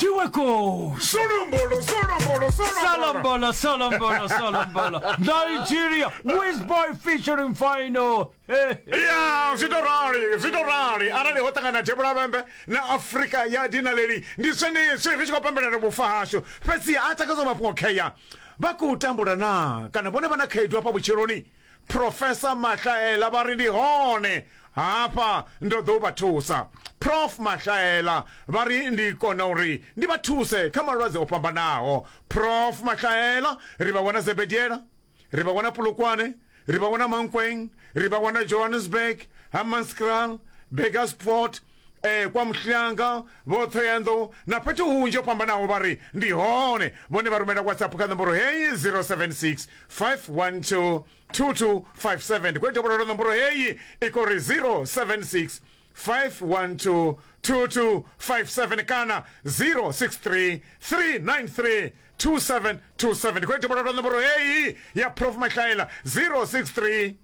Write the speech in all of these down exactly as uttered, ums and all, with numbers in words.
Tšiweko. Solombolo, solombolo, solombolo. Solombolo, solombolo, solombolo. Nigeria, Wizboy featuring Phyno. Ya, zwi to rali, zwi to rali. Arali ho ṱangana Devhula Vhembe na Afrika ya dinaleli, ndi zwenezwi ri tshi khou pembelela vhufa hashu. Fhedzi a takadza mafhungo khea. Vha khou tambula naa kana vhone vha na khaedu hafha vhutshiloni? Professor Mahlaela vha ri ndi hone hafha ndo ḓo vha thusa. Prof Mahlaela vha ri ndi kona uri ndi vha thuse kha malwadze o fhambanaho. Prof Mahlaela ri vha wana Zebediela, ri vha wana Polokwane, ri vha wana Mankweng, ri vha wana Johannesburg, Hammanskraal, Burgersfort, eh, kwa Mhlanga, vho Thohoyandou na fhethu hunzhi ho fhambanaho vha ri ndi hone. Vhone vha rumela WhatsApp kha nomboro heyi zero seven six five one two two two five seven. Ndi khou dovholola nomboro heyi i khou ri zero seven six five one two two two five seven kana zero six three three nine three two seven two seven. Ndi khou dovholola nomboro heyi ya Prof Mahlaela zero six three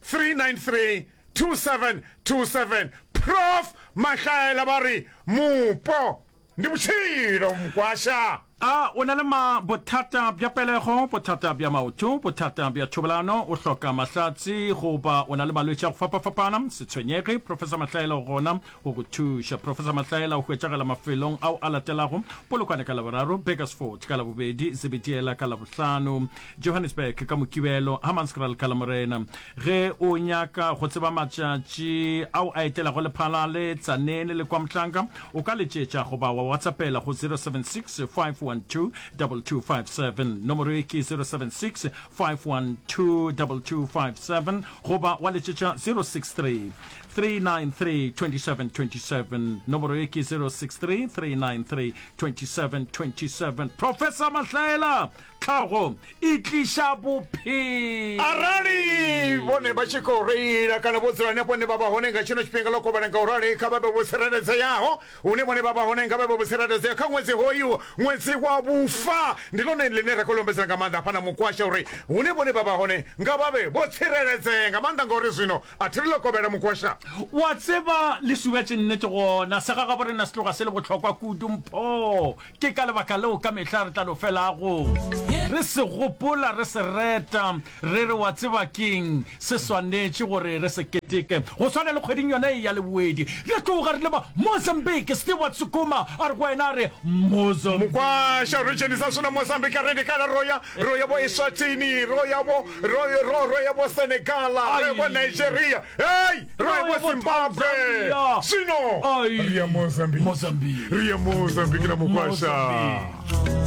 three nine three two seven two seven. Prof Mahlaela vha ri mupo ndi vhutshilo mukwasha. A o na le ma bothata bja pelego, bothata bja maoto, bothata bja thobalano, o hloka mahlatse goba o na le malwetši a go fapafapana? Se tshwenyege, Professor Mahlaela o gona go go thuša. Professor Mahlaela o hwetšagala mafelong ao a latelago: Polokwane ka Laboraro, Burgersfort ka Labobedi, Zebediela ka Labohlano, Johannesburg ka Mokibelo, Hammanskraal ka Lamorena. Ge o nyaka go tseba matšatši ao a etelago Lephalale, Tzaneen le KwaMhlanga, o ka letšetša goba wa WhatsAppela go zero seven six five one two double two five seven. Nomoro ye ke zero seven six five one two double two five seven goba wa letšetša zero six three three nine three twenty seven twenty seven. Nomoro ye ke zero six three three nine three twenty seven twenty seven. Professor Mahlaela, tlhago e tliša bophelo. Arali vhone vha tshi khou reila kana vho dzula hanefho hune vha vha hone nga tshino tshifhinga ḽo kovhela, nga u rali kha vha vhe vho tsireledzeaho hune vhone vha vha hone, nga vha vhe vho tsireledzea kha ṅwedzi hoyu, ṅwedzi wa vhufa. Ndi ḽone ḽine ra khou lombedzela nga maanḓa hafha na mukwasha uri hune vhone vha vha hone nga vha vhe vho tsireledzea nga maanḓa, ngauri zwino a thi ri ḽo kovhela mukwasha. Wa tseba le subetše nnete gona, segagabo rena se tloga se le bohlokwa kudu mpho. Ke ka lebaka leo ka mehla re tla no felago re se gopola, re se reta, re re wa tseba ke'ng, se swanetše gore re se keteke. Go swana le kgweding yona ye ya Leboedi, re tloga re leba Mozambique. Stewart Sukuma a re go wena a re, Mozambique. Mukwasha ri dzhenisa zwino Mozambique a ri ndi kale ro ya, ro ya vho Eswatini, ro ya vho, ro, ro, ro ya vho Senegal, ro ya vho Nigeria, hei, ro ya vho Zimbabwe. Zwino ri ya Mozambique, ri ya Mozambique na Mukwasha.